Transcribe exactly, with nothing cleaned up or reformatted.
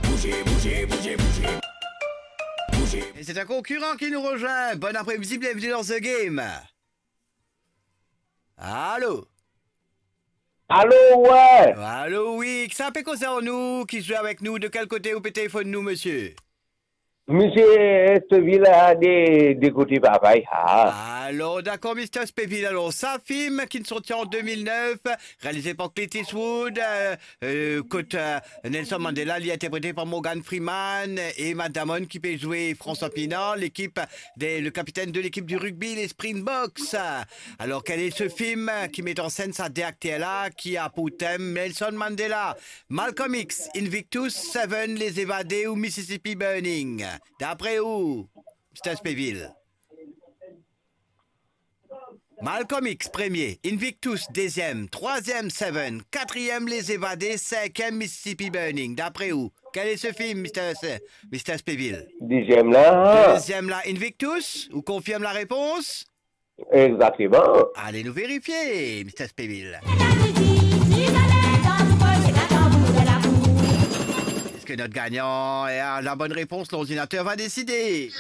Bouze, bouze, bouze, bouze. Bouze. E se enn konkiran ki nou rezwinn. Bon apremidi, bienveni dan The Game. Alo? Alo, wi. Alo, wi. Ki sa pe koze ar nou, ki zwe avek nou, de kel kote ou pe telefonn nou, misie? Misie Espevil, de, de kote Papay, ah. Alor, dakor, misie Espevil. Alor, sa fim ki sorti an de mil nef, realize par Clint Eastwood, euh, euh, kot, euh, Nelson Mandela, li interprete par Morgan Freeman, e Matt Damon ki pe zwe François Pienaar, lekip de, le kapitenn de lekip di rugbi, les Springboks. Alor, kel e se fim ki met an senn sa de akter la, ki a pou tem Nelson Mandela, Malcolm X, Invictus, Seven, Les Evadés ou Mississippi Burning? Dapre ou, misie Espevil? Malcolm X, premie. Invictus, deziem. Trwaziem, Seven. Katriem, Les Evadés. Sinkiem, Mississippi Burning. Dapre ou, kel e se fim, misie Se-, misie Espevil? Deziem la. Deziem la, Invictus. Ou konfirm larepons? Exakteman. Ale nou verifie, misie Espevil. Eski not gagnan a la bonn repons? Lordinater va deside.